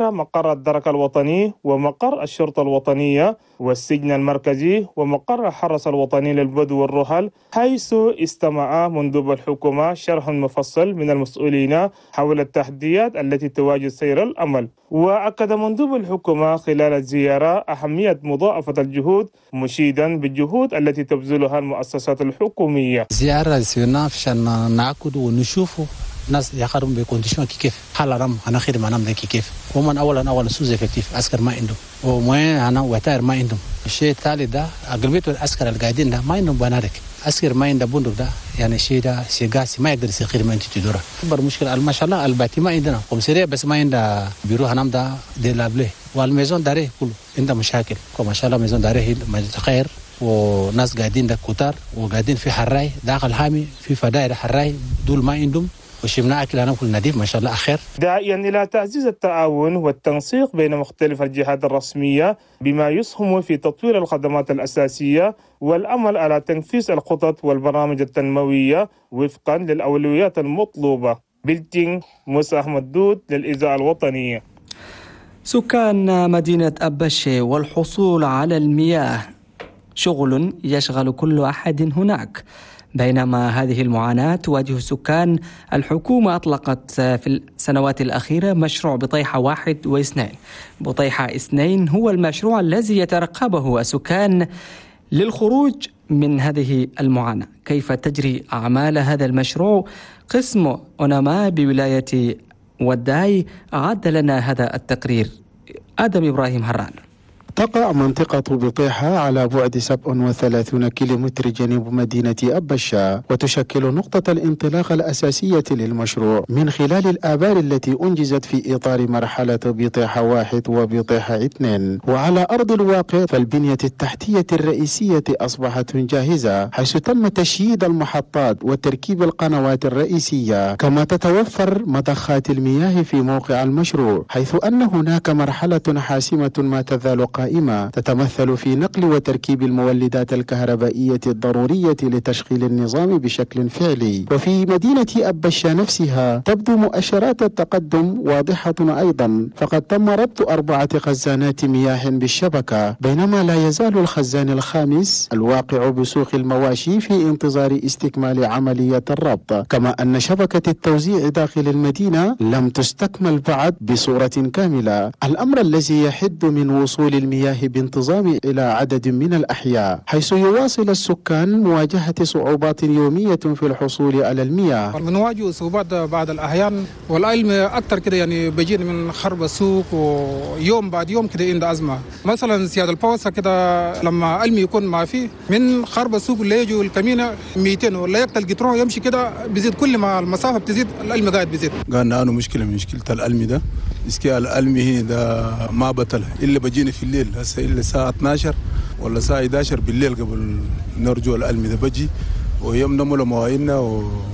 مقر الدرك الوطني ومقر الشرطة الوطنية والسجن المركزي ومقر الحرس الوطني للبدو والرحل، حيث استمع مندوب الحكومة شرح مفصل من المسؤولين حول التحديات التي تواجه سير الأمل. وأكد مندوب الحكومة خلال الزيارة أهمية مضاعفة الجهود، مشيدا بالجهود التي تبذلها المؤسسات الحكومية. زيارة سيرنا عشان نعقد ونشوفه ناس يخدموا ب conditions كيف حال رم انا خدمة انا كيف ومن اولا sous-effectif عسكر ما عندهم وموين انا وتاير ما عندهم. الشيء الثالث ده اغلبية العسكر القاعدين ده ما عندهم بنادق، عسكر ما عنده بندق ده يعني شيء ده شيء قاسي ما يقدر يصير خدمة انت تدوره. اكبر مشكلة ما شاء الله ال bâtiment عندنا commissariat بس ما عنده بيرو هنام ده délabré وال maison d'arrêt كله عنده مشاكل. ما شاء الله maison d'arrêt خير وناس قاعدين ده كتار وقاعدين في حراي داخل حامي في فدائر حراي دول ما عندهم وشمنا أكل أنا كل نديف ما شاء الله أخير. داعيا إلى تعزيز التعاون والتنسيق بين مختلف الجهات الرسمية بما يسهم في تطوير الخدمات الأساسية والعمل على تنفيذ الخطط والبرامج التنموية وفقا للأولويات المطلوبة. بلتين موسى أحمد دود للإذاعة الوطنية. سكان مدينة أبشي والحصول على المياه شغل يشغل كل أحد هناك. بينما هذه المعاناة تواجه السكان، الحكومة أطلقت في السنوات الأخيرة مشروع بطيحة 1 و2. بطيحة 2 هو المشروع الذي يترقبه السكان للخروج من هذه المعاناة. كيف تجري أعمال هذا المشروع؟ قسم أوناما بولاية وداي أعد لنا هذا التقرير. آدم إبراهيم هران. تقع منطقة بطيحة على بعد 37 كيلومتر جنوب مدينة أبشا، وتشكل نقطة الانطلاق الأساسية للمشروع من خلال الآبار التي أنجزت في إطار مرحلة بطيحة 1 وبطيحة 2. وعلى أرض الواقع فالبنية التحتية الرئيسية أصبحت جاهزة، حيث تم تشييد المحطات وتركيب القنوات الرئيسية، كما تتوفر مضخات المياه في موقع المشروع، حيث أن هناك مرحلة حاسمة ما تزال قائمة تتمثل في نقل وتركيب المولدات الكهربائية الضرورية لتشغيل النظام بشكل فعلي. وفي مدينة أبشا نفسها تبدو مؤشرات التقدم واضحة أيضا، فقد تم ربط 4 خزانات مياه بالشبكة، بينما لا يزال الخزان الخامس الواقع بسوق المواشي في انتظار استكمال عملية الربط. كما أن شبكة التوزيع داخل المدينة لم تستكمل بعد بصورة كاملة، الأمر الذي يحد من وصول المياه بانتظام إلى عدد من الأحياء، حيث يواصل السكان مواجهة صعوبات يومية في الحصول على المياه. بنواجه صعوبات بعض الأحيان، والعلم أكثر كده يعني بيجينا من خرب السوق، ويوم بعد يوم كده عند أزمة. مثلا سيادة البوسة كده لما علم يكون ما فيه من خرب السوق اللي يجوا الكمينة 200 ولا يقتل قطرة يمشي كده بيزيد، كل ما المسافة بتزيد العلم قاعد بيزيد. قالنا أنا مشكلة من مشكلة العلم ده، إسكي العلم هنا ده ما بطل إلا بجينا في الليل، هسه إلا الساعة 12 ولا الساعة 11 بالليل قبل نرجو العلم ده بجي ويوم نملوا مواعيننا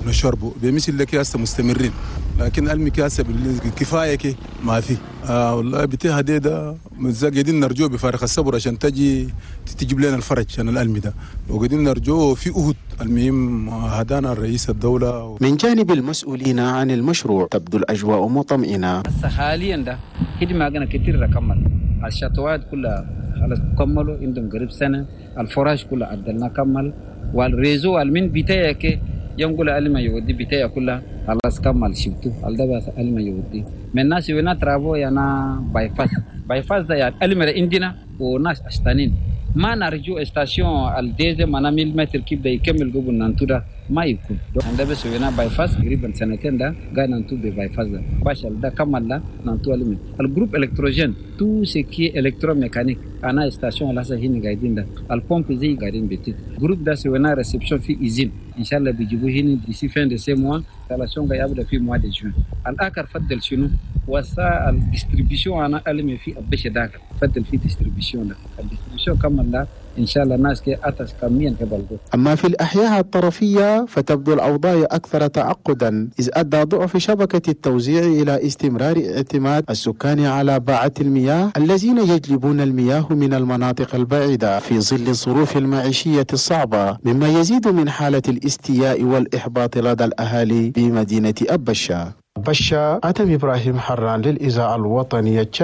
ونشربه بمثل لك هسه مستمرين، لكن علمي كاسه بالليل كفاية كي ما في. والله بتاع ده قاعدين نرجوه بفارغ الصبر عشان تجي تجيب لنا الفرج عشان العلم ده، وقاعدين نرجوه في أهد. المهم هدانا الرئيس الدولة. من جانب المسؤولين عن المشروع تبدو الأجواء مطمئنة. بس حاليا ده خدمة كتير كمل الشطوات كلها خلاص كملوا عندهم قريب سنة، الفراش كلها عدلنا كمل، وال réseau المن بتاعك ينقول علم يودي بتاعي كلها خلاص كمل شبتو ده بس علم يودي من ناس ونا travaux يانا bypass bypass ده يعني علم عندنا وناس أشتانين ما نرجو station ال deuxième أنا 1000 mètres كيف ده يكمل قبل نانتو ده ما يكون عند بس ونا bypass قريبا سنتين ده قاعد نانتو ب bypass ده باش ده كمل ده نانتو علم ال groupe électrogène tout ce qui est électromécanique أنا station لسه هنا قاعدين ده البومب زي قاعدين بيتي groupe ده سوينا réception في usine إن شاء الله بيجيبوه هنا d'ici fin de ce mois installation قاعد يبدأ في mois de juin. الآخر فضل شنو وسا ال distribution أنا ألمي في أبش داخل فضل في distribution ده ال distribution كمل ده إن شاء الله الناس كي أتس كميا كبلغوا. أما في الأحياء الطرفية فتبدو الأوضاع أكثر تعقدا، إذ أدى ضعف شبكة التوزيع إلى استمرار اعتماد السكان على باعة المياه الذين يجلبون المياه من المناطق البعيدة في ظل الظروف المعيشية الصعبة، مما يزيد من حالة الاستياء والإحباط لدى الأهالي بمدينة أبشا. بشا، آدم إبراهيم حران للإذاعة الوطنية.